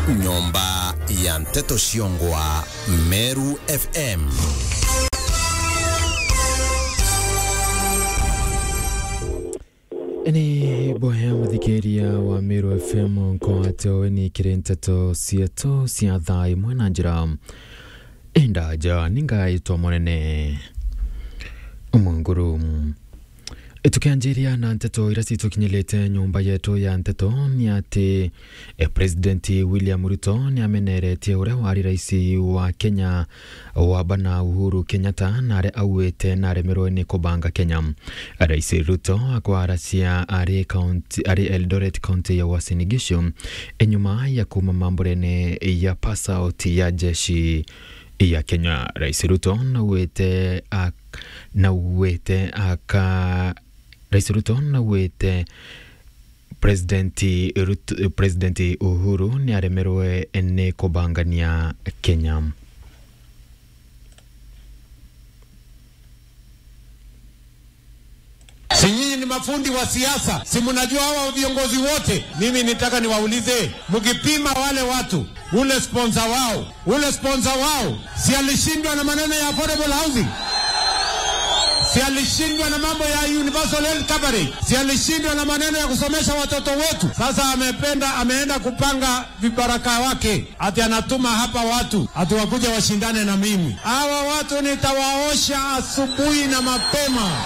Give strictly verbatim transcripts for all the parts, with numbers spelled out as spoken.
Nyomba ya nteto ciongwa Meru F M. Ni boya muthikiria wa Meru F M nkwate weni kiri nteto cietu cia thaa imwe na njira indaja, ni ngaitwa munene Munguru. Tukianjiria na nteto iria citukinyirite nyomba yetu ya nteto, ni ati, eh, President William Ruto ni ameneretie uria wari rais wa Kenya wa bana Uhuru Kenyatta, na aria auite na aremerwe ni kubanga Kenya. Rais Ruto akwaracia ari county, ari Eldoret County ya Uasin Gishu, enyuma ya kuma mamburene ya pass out ya jeshi ya Kenya. Rais Ruto nauite ak-, nauite aka-, Rais Ruto nauite President Ruto, President Uhuru ni aremerwe ni kubangania Kenya. Si nyinyi ni mafundi wa siasa? Si mnajua hawa viongozi wote? Mimi nitaka niwaulize, mkipima wale watu, ule sponsor wao, ule sponsor wao, si alishindwa na maneno ya affordable housing? Si alishindwa na mambo ya universal health coverage? Si alishindwa na maneno ya kusomesha watoto wetu? Sasa amependa, ameenda kupanga vibaraka wake, ati anatuma hapa watu ati wakuje washindane na mimi. Hawa watu nitawaosha asubuhi na mapema.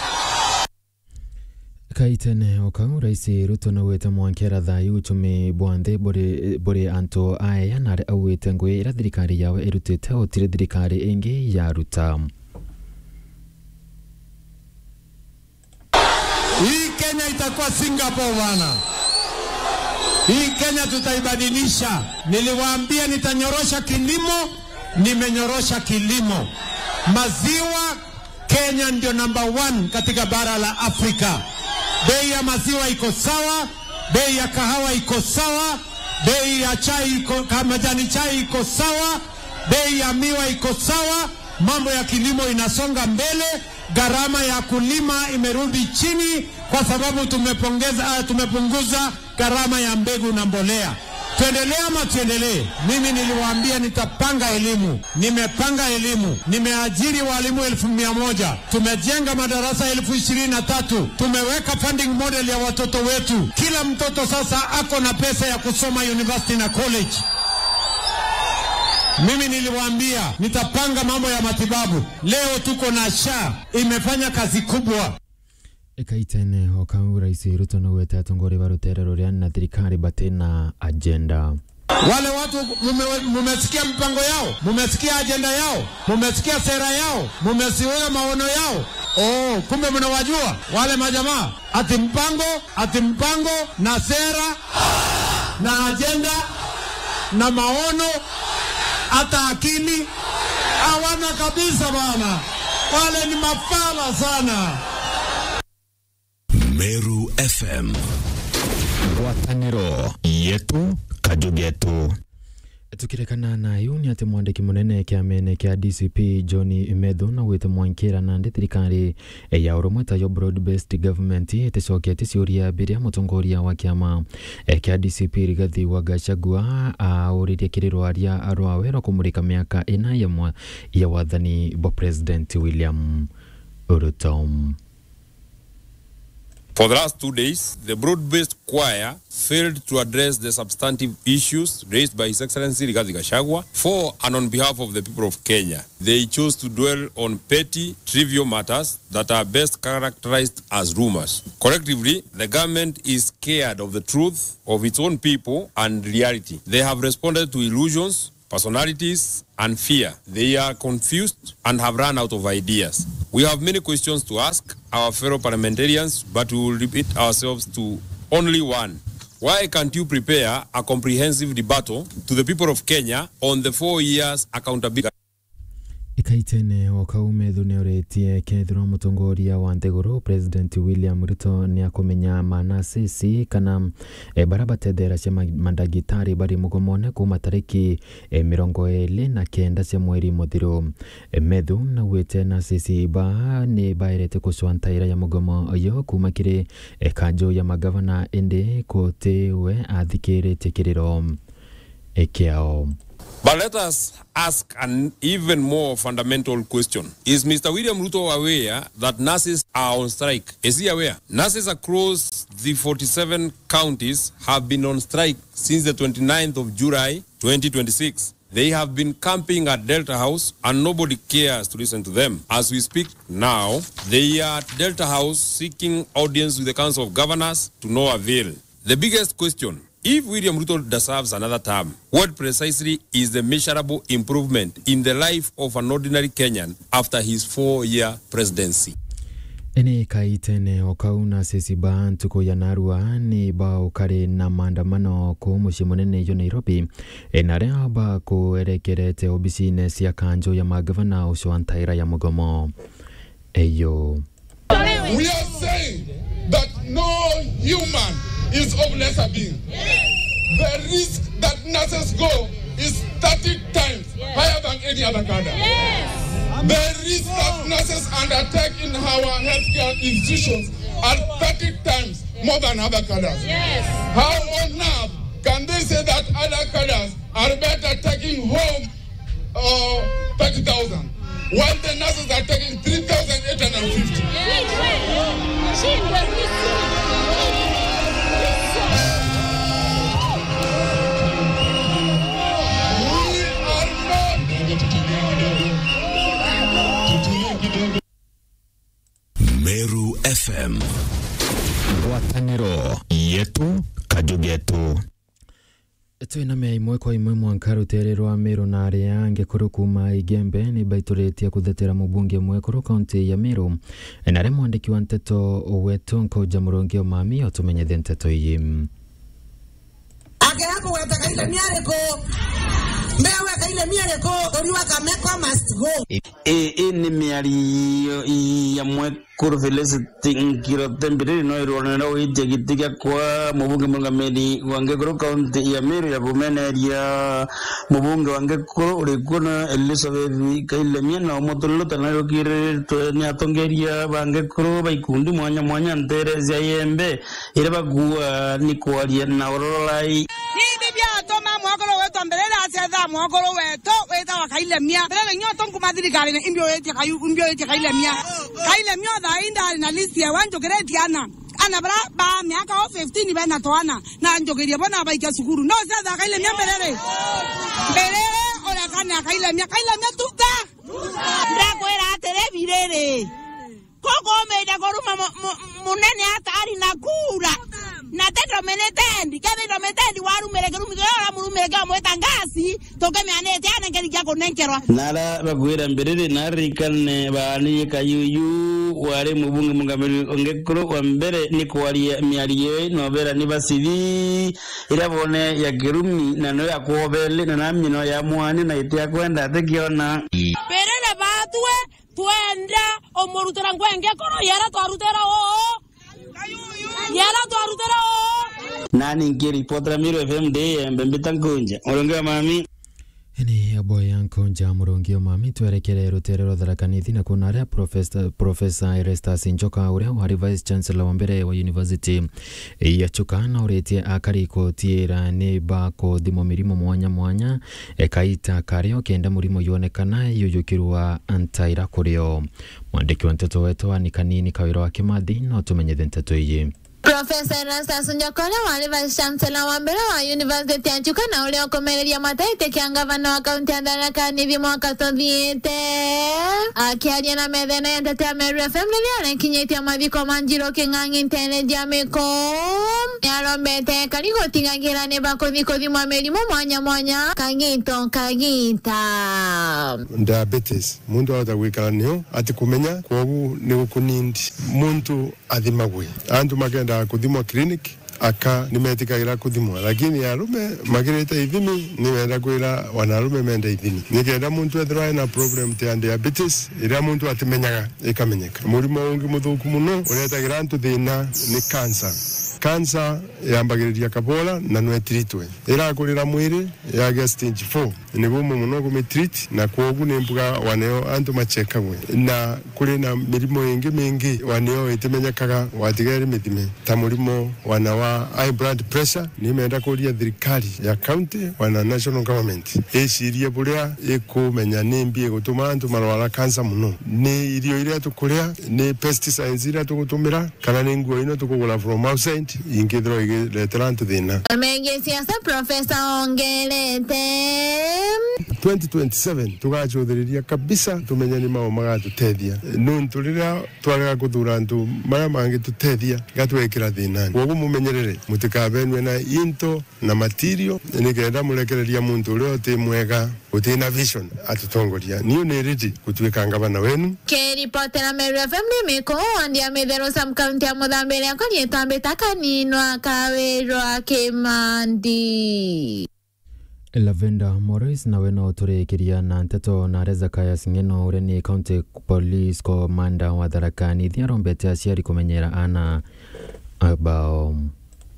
Kaitene o kau, Rais Ruto nauite mwankera thayu uchumi bwa nthi buri, buri antu aeya, na aria auite ngui iria thirikari yawe irutite utiri thirikari ingi yaruta. Hii Kenya itakuwa Singapore bana. Hii Kenya tutaibadilisha. Niliwaambia nitanyorosha kilimo, nimenyorosha kilimo. Maziwa, Kenya ndio number one katika bara la Afrika. Bei ya maziwa iko sawa, bei ya kahawa iko sawa, bei ya chai iko, ka-, majani chai iko sawa, bei ya miwa iko sawa, mambo ya kilimo inasonga mbele. Gharama ya kulima imerudi chini kwa sababu tumepongeza, ah, tumepunguza gharama ya mbegu na mbolea. Tuendelee ama tuendelee? Mimi niliwaambia nitapanga elimu. Nimepanga elimu. Nimeajiri walimu elfu mia moja. Tumejenga madarasa elfu ishirini na tatu. Tumeweka funding model ya watoto wetu. Kila mtoto sasa ako na pesa ya kusoma university na college. Mimi niliwaambia nitapanga mambo ya matibabu. Leo tuko na SHA, imefanya kazi kubwa. Ikaitene o kau, Rais Ruto naugite atongoria ba rutere ruria na thirikari batina agenda. Wale watu mume-, mumesikia mpango yao, mumesikia ajenda yao, mumesikia sera yao, mumesikia maono yao. Oh, kumbe mnawajua wale majamaa. Ati mpango, ati mpango na sera na ajenda na maono, hata akili hawana kabisa bana. Wale ni mafala sana. Meru F M. Ngwataniro yetu, kaju getu. Tukirekana na iu, ni ati mwandiki munene kiamene kia D C P John Methu naugite mwankira nandi thirikari ya urumwe tayo broad-based government iticokete ciuria biria mutongoria wa kiama, eh, kia D C P Rigathi wa Gachagua auririe kiri rwaria rwawe rwa kumurika miaka ina ya mwa-, ya wathani bwa President William Ruto. For the last two days, the broad-based choir failed to address the substantive issues raised by His Excellency Rigathi Gachagua for and on behalf of the people of Kenya. They chose to dwell on petty, trivial matters that are best characterized as rumors. Collectively, the government is scared of the truth of its own people and reality. They have responded to illusions, personalities, and fear. They are confused and have run out of ideas. We have many questions to ask our fellow parliamentarians, but we will limit ourselves to only one. Why can't you prepare a comprehensive rebuttal to the people of Kenya on the four years accountability? Ikaitene o kau, Methu niuritie kethirwa mutongoria wa nthiguru President William Ruto niakumenya manasisi kana, eh, bara batetheragia ma-, mandagitari bari mugomone kuma tariki, eh, mirongo iri na kenda cia mweri muthiru. Eh, Methu naugite nasisi ba ni baerete kucwa ntaira ya mugomo uyu kuma kiri, eh, kanju ya magavana, indi kuti we athikiritie kiriro. kiao. But let us ask an even more fundamental question. Is Mister William Ruto aware that nurses are on strike? Is he aware? Nurses across the forty-seven counties have been on strike since the twenty-ninth of July twenty twenty-six. They have been camping at Delta House and nobody cares to listen to them. As we speak now, they are at Delta House seeking audience with the Council of Governors, to no avail. The biggest question, if William Ruto deserves another term, what precisely is the measurable improvement in the life of an ordinary Kenyan after his four-year presidency? Ene kaitene o kau, nurses ba ntuku ya narua ni baukari na maandamano kuu mucii munene jwa Nairobi, e, na aria bakuerekerete obisine cia kanju ya magavana ucio wa ntaira ya mugomo. Eyo. We are saying that no human is of lesser being. The risk that nurses go is thirty times higher than any other cadre. The risk that nurses undertake in our healthcare institutions are thirty times more than other cadres. How on earth can they say that other cadres are better taking home uh, thirty thousand, while the nurses are taking three thousand eight hundred fifty. We are not. Meru F M. Ngwataniro yetu, kaju getu. Twina mea imwe kwa imwe mwanka rutere rwa Meru na aria angi kuru kuuma Igembe ni baituritie kuthetera mubunge mwekuru kaunti ya Meru. Na aria mwandiki wa nteto wetu Nkuja Murungi Omami otumenyithie nteto iji. Akira kugweta Kailemia ariku? Mbere we Kailemia ariku? Uriwa Kameko must go. Ii, ii ni miario ya mwekuru Felicity Ngirote Mbiriri, no irwonera witia giti gia kwa mubunge murungamiri wa Ngekuru kaunti ya Meru ya bumeneria mubunge wa Ngekuru uri kuo na Elizabeth Kailemia na umuturirute na rukiritwe ni atongeria ba Ngekuru ba ikundi mwanya mwanya ntere cia Iembe iria bakuua ni kwaria na urorai. Nindi biatuma mwekuru witwa Mbiriri acetha mwekuru wetu witawa Kailemia. Mbiriri nyoto nkuma thirikari ni imbi witie Kayu-, imbi witie Kailemia. Kailemia thaa ii ndari na list ya wanjukiritie ana. Ana bara ba miaka o fifteen bena twana. Na njukirie bo na baikia cukuru. No cetha Kailemia Mbiriri. Mbiriri uria kana Kailemia. Kailemia tuta. Ndakwira atiri Mbiriri. Kukumite kuruma mu-, mu-, munene atari na kura. Na ti dominated. Kethira dominated warumire kirumi kiria uramurumire kia umwita ngasi, tukimianitie anenke kia kunenkerwa. Na aria bakwira Mbiriri na arikane baanirie Kayuyu wari mubunge mungamiri ungi kuru wa mbere ni kwaria miario ii na ubera ni basithi iria bone ya kirumi na no ya kwobeli na namino ya mwanya na iti ya kwenda atikiona. Mbiriri batue Twenda umurutira ngwenge koro yara twarutira uu. Yara twarutira uu. Nani nkiripotera Meru F M ndi Iembe mbita Nkunja. Murungi Omami. Ni aboya Nkunja Murungi Omami, twerekere rutere rwa Tharaka Nithi na kuna aria Professor, Professor Erastus Njoka, uria wari Vice Chancellor wa mbere wa University ya Chuka, na uritie akari kutiira ni bakuthimwo mirimo mwanya mwanya, e, kaita kario kenda murimo yonekana yuyukirwa ntaira kurio. Mwandiki wa nteto wetu wa Ni Kanini Kawira wa Kimathi no tumenyithe nteto iji. Professor Erastus Njoka, uria wari Vice Chancellor wa mbere wa University ya Chuka na uria ukumereria mataiti kia ngavana wa kaunti ya Tharaka Nithi mwaka tuthiite, akiaria na methena ya nteto ya Meru F M riria arekinyitie mathiko ma Njiro King'ang'i ntere cia Miko, niarombete ekari gutigagira ni bakuthi kuthimwa mirimo mwanya mwanya kagita o kagita. Diabetes, muntu ahota gwikara nio atikumenya, kwogu ni gukunindi muntu athimagwe. Antu makendaga kuthimwa clinic, aka nimetikagira kuthimwa, lakini arume magirite ithimi, ni wenda kwira wanarume mende ithimi, nikenda muntu ethirwa ena problem ta ya diabetes, iria muntu atimenyaga ikamenyeka. Murimo ungi muthuku muno uretagira antu thina ni cancer. Kansa yambagiriria kabora na nwe itiritwe. Irakurira mwiri, yagia stage four, ni bumu mono kumitreat, na kwogu ni mbuga waneo antu machekagwe. Na kuri na mirimo ingi mingi waneo itimenyekaga, watiga iri mithime, ta murimo wana wa high blood pressure. Nimenda kuria thirikari ya county, wana national government, icirie buria ikumenya ni mbi igutuma antu marwara kansa mono. Ni irio iria tukuria, ni pesticides iria tugutumira, kana ni nguo ino tukugura from outside, ingithirwa igiretera antu thina. Megie siasa, Profesa ongerete. Twenty twenty-seven tugacuthiriria kabisa, tumenye ni mau magatuteethia. Nuntu riria twarega kuthura antu maria mangitutethia, gatwekira thinani. Kwoguo mumenyerere, mutikabenwe na into na material, nikenda murekereria muntu uria uti mwega, uti na vision, atutongoria. Niu ni ready gutuika ngavana wenu. Kiripotera Meru F M ni Miko, wandi ya Mitheru, sub county ya Muthambiria, kuri itambita kaninwa kawirwa Kimandi. Lavenda Morris nawe no turikiria na nteto na Hezekiah Ng'eno, uria ni County Police Commander wa Tharaka Nithi, arombete aciari kumenyera ana bao.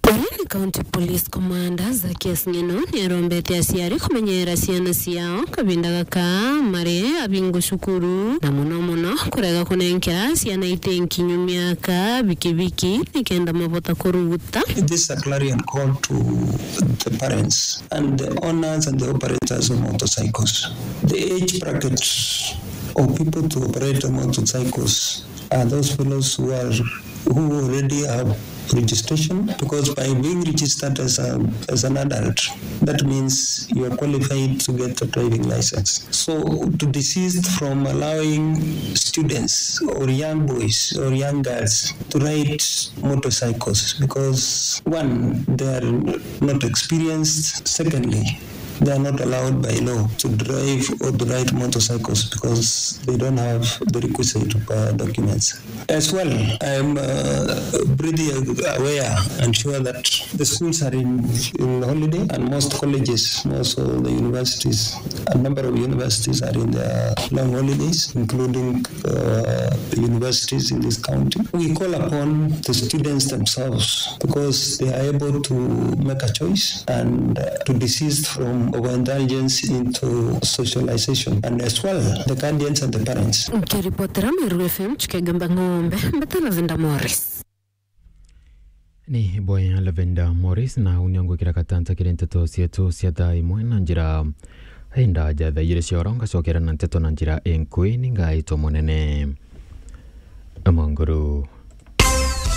Uria ni County Police Commander Zacchaeus Ng'eno ni arombete aciari kumenyera ciana ciao kavinda gaka mari abingu cukuru, na mono mono kurega kunenkera ciana iti nkinyu miaka bikibiki nikenda mabota kuruguta. It is a clarion call to the parents and the owners and the operators of motorcycles. The age bracket of people to operate motorcycles are those fellows who are, who already have registration, because by being registered as a, as an adult, that means you are qualified to get a driving license. So to desist from allowing students or young boys or young girls to ride motorcycles, because one, they are not experienced. Secondly, they are not allowed by law to drive or to ride motorcycles because they don't have the requisite, uh, documents. As well, I am, uh, pretty aware and sure that the schools are in, in holiday, and most colleges, most of the universities, a number of universities are in their long holidays, including, uh, universities in this county. We call upon the students themselves, because they are able to make a choice and, uh, to desist from overindulgence into socialization, and as well the guardians and the parents. Nkiripotera Meru F M, Chikegamba Ng'ombe, mbeta Lavenda Morris. Ni boya Lavenda Morris, na uni ngwikira katanta kiri nteto cietu cia thaa imwe na njira indaja thaa igiri cia oro, ngacokera na nteto na njira inkui, ni ngaitwa munene. Amonguru.